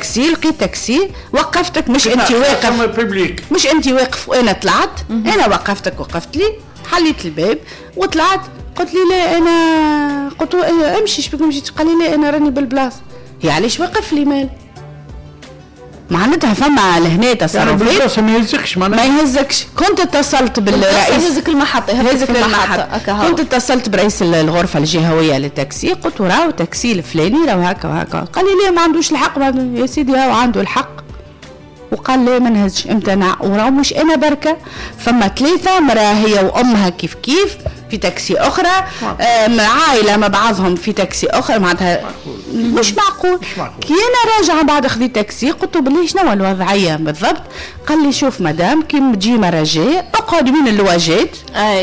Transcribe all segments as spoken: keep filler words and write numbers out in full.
تاكسي، لقيت تاكسي وقفتك، مش انت واقف مش انت واقف وانا طلعت، انا وقفتك وقفت لي، حليت الباب وطلعت، قلت لي لا انا، قلت له امشي شبيك مشيت؟ قال لي لا انا راني بالبلاصه. هي علاش وقف لي مال؟ معناتها فما لهنا تصرفات يعني ما يهزكش، معناتها ما يهزكش. كنت اتصلت بالرئيس يهزك المحطة، يهزك المحطة. كنت اتصلت برئيس الغرفة الجهوية للتاكسي، قلت له راهو تاكسي الفلاني راهو هكا وهكا. قال لي لا ما عندوش الحق. يا سيدي هاو عنده الحق. وقال لا ما نهزش، امتنع. وراهو مش انا بركة، فما ثلاثة مراة هي وامها كيف كيف في تاكسي اخرى، عائلة مع بعضهم في تاكسي اخرى، معناتها مش معقول. كي انا راجعه بعد خذيت تاكسي قلت له بالله شنو الوضعية بالضبط؟ قال لي شوف مدام كي تجي مرة جاية اقعد وين اللواجات،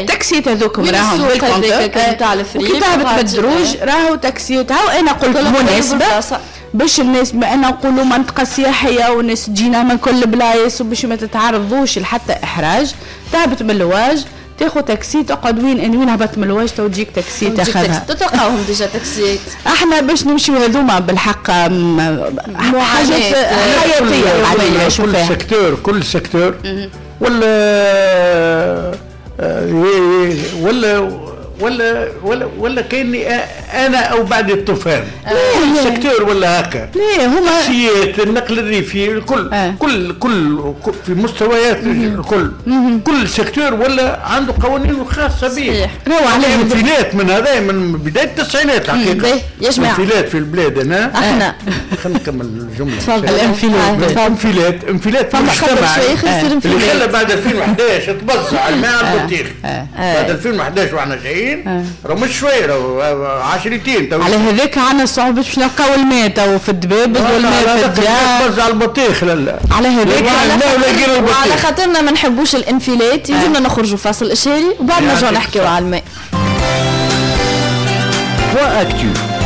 تاكسيات هذوك راهم بال compteur، وكي تهبط بالدروج راهو تاكسيات. هاو انا قلت مناسبة باش الناس، ما انا نقولوا منطقة سياحية والناس تجينا من كل بلايص، وباش ما تتعرضوش لحتى احراج، تهبط من اللواج تاخذ تاكسي تقعد وين وين هبط من اللواج تو تجيك تاكسي تاخذها. تلقاوهم déjà تاكسيات. احنا باش نمشيو هذوما بالحق حاجات حياتيه علينا. كل secteur كل secteur ولا ولا ولا ولا ولا كاني انا او بعد الطوفان ال secteur ولا هكا. ليه هما تاكسيات النقل الريفي الكل آه. كل كل في مستويات الكل كل secteur ولا عنده قوانين خاصة به. راهو عليه انفلات من هذا من بداية التسعينات الحقيقة. يا جماعة انفلات في البلاد. انا احنا خلينا نكمل الجملة. تفضل. الانفلات انفلات انفلات في المجتمع اللي خلى بعد ألفين وأحد عشر تبزع الماء على البطيخ. بعد ألفين وأحد عشر واحنا جايين راه مش شوية، راه عشرتين. على هذاك عندنا صعوبة باش نلقاو الماء تو في الدبابز والماء في الديار. تبزع البطيخ لا على هذاك وعلى خاطرنا ما نحبوش الانفلات يلزمنا نخرجوا فاصل اشهاري وبعد نرجعوا نحكيو على الماء. Point Actu.